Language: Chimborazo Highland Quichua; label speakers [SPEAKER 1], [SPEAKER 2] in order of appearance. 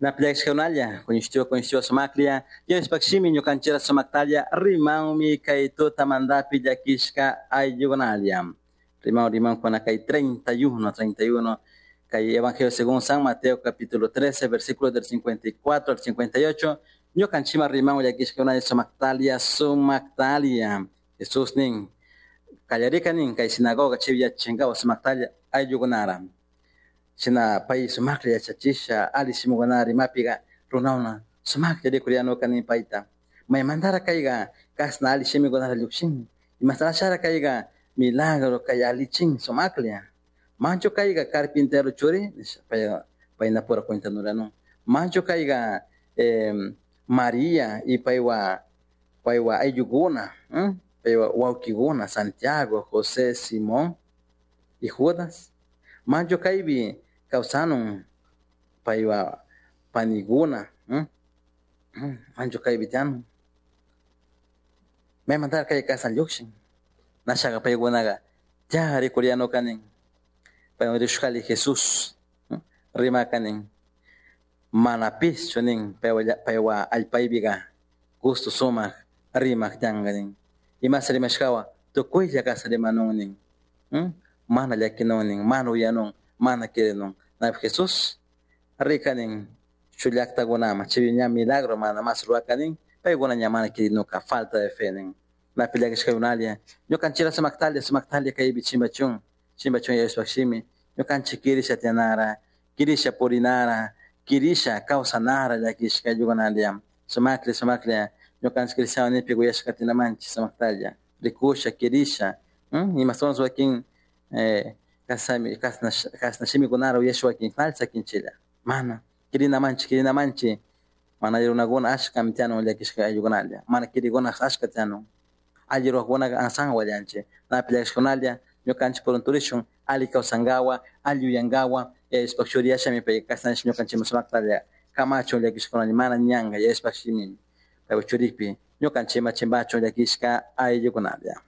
[SPEAKER 1] Napillashkakunalla, kuñishtiwa kuñishtiwa sumaklla, Diospaj shimi ñukanchira sumaktalla rimanmi kay tutamantapi llakishka ayllukunalla. Riman riman kuna kay 31, 31, kay Evangelio según San Mateo capítulo 13, versículos del 54 al 58, ñukanchima riman llakishkakunalla sumaktalia, sumaktalia. Jesús nin, kallarika nin kay sinagoga chaypi yachachinkawa sumaktalla ayllukunara. Shina pay sumaklla yachachisha ali shimukuna rimapiga runawna sumaklla rikuriyanuka nin payta. Maymantara kayga kashna ali shimikunata llukshin. Imastarashara kayga milagro kay alichin sumaklla. Manchu kayga carpintero churi nisha pay paynapura cuentanuranu. Manchu kayga María y paywa paywa ayllukuna, paywa wawkikuna Santiago, José, Simón y Judas. Manchu kaypi kawsanun paywa panikuna, manchu kaypi tiyanun. Maymantara kay kashna llukshin. Nashaka paykunaqa ya rikuriyanuka nin. Paywan rikushkali Jesús rimaka nin. Mana pischu nin paywa allpaypiqa gusto sumak rimak tiyanka nin. Imasa rimashkawan tukuylla kashna rimanun nin. Mana llakinun nin, mana uyanun, mana quirinun. Napi Jesús rika nin shuk llaktakunaman chay ña milagro mana mas ruraka nin paykuna ña mana quirinuka falta de fe nin. Napi llakishkakunalla ñukanchikra sumaktalla sumaktalla kaypi chimbachun chimbachun Diospaj shimi ñukanchik kirisha tiyanara, kirisha purinara, kirisha kawsanara llakishka ayllukunalla sumaklla sumaklla ñukanchik cristiano nipi kuyashka katinamanchik sumaktalla rikusha kirisha imastawanshi wakin kashnami kashna shimikunara uyasha wakin falsakinchilla mana kirinamanchik kirinamanchik mana alli runakuna ashkami tiyanun llakishka ayllukunalla mana kirikuna ashka tiyanun alli ruwakunaka asanwan wallanchik napi llakishkunalla ñukanchik purunturishun alli kawsankawa alli yuyankawa Diospaj churi yashami pay kashna ñukanchikman sumaktalla kamachun llakishkunalla mana ñanka Diospaj shimi paypak churipi ñukanchikman chimbachun llakishka ayllukunalla.